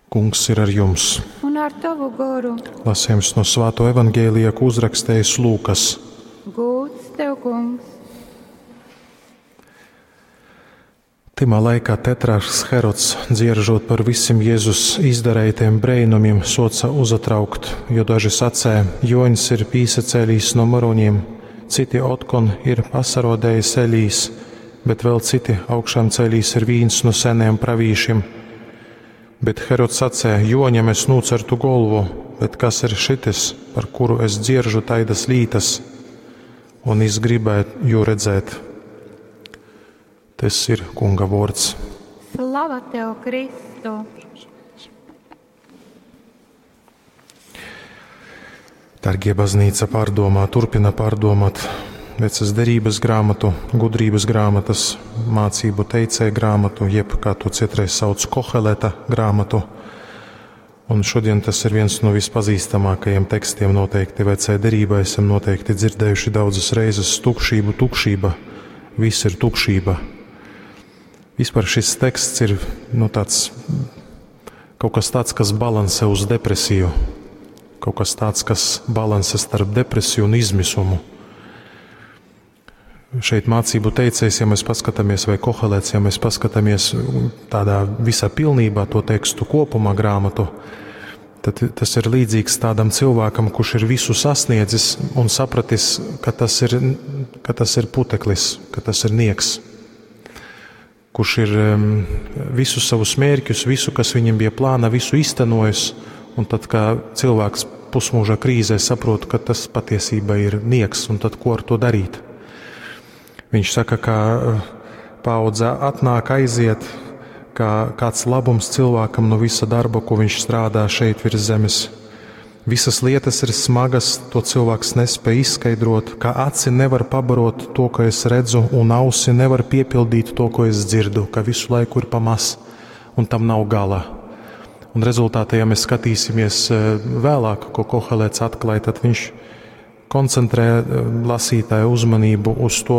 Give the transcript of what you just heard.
Kungs ir ar jums. Un ar tovu goru. Lasījums no Svāto evaņģēlija, ko uzrakstījis Lūkas. Gūds tev, kungs! Tymā laikā tetrarhs Herods, dzieržot par visiem Jēzus izdarītiem brēnumiem, soca uzatraukt, jo daži sacēja, Joņs ir pīsacēlīs no maroņiem, citi otkon ir pasarodējis Elīs, bet vēl citi augšām ceļīs ir vīns no seniem pravīšiem. Bet Herods sacēja, Joņam es nūcertu golvu, bet kas ir šitis, par kuru es dzieržu taidas lītas, un es gribētu jū redzēt. Tas ir Kunga vārds. Slava tev, Kristu! Dargie baznīca pārdomā, turpina pārdomāt vecas derības grāmatu, gudrības grāmatas, mācību teicēju grāmatu, jeb, kā to citreiz sauc, Koheleta grāmatu. Un šodien tas ir viens no vispazīstamākajiem tekstiem noteikti vecajā derībā. Esam noteikti dzirdējuši daudzas reizes tukšību, tukšība, viss ir tukšība. Vispār šis teksts ir nu, tāds, kaut kas tāds, kas balansē uz depresiju, kaut kas tāds, kas balansē starp depresiju un izmisumu. Šeit mācību teicējs, ja mēs paskatāmies, vai Kohelets, ja mēs paskatāmies tādā visā pilnībā to tekstu kopumā grāmatu, tad tas ir līdzīgs tādam cilvēkam, kurš ir visu sasniedzis un sapratis, ka tas ir, ka tas ir puteklis, ka tas ir nieks. Kurš ir visus savus mērķus, visu, kas viņam bija plāna, visu iztenojis, un tad, kā cilvēks pusmūža krīzē saprot, ka tas patiesībā ir nieks, un tad ko ar to darīt? Viņš saka, ka paudze atnāk, aiziet, kā kāds labums cilvēkam no visa darba, ko viņš strādā šeit virs zemes. Visas lietas ir smagas, to cilvēks nespēj izskaidrot, ka aci nevar pabarot to, ko es redzu, un ausi nevar piepildīt to, ko es dzirdu, ka visu laiku ir pa maz, un tam nav gala. Un rezultātā, ja mēs skatīsimies vēlāk, ko Kohelets atklāja, tad viņš koncentrē lasītāju uzmanību uz to,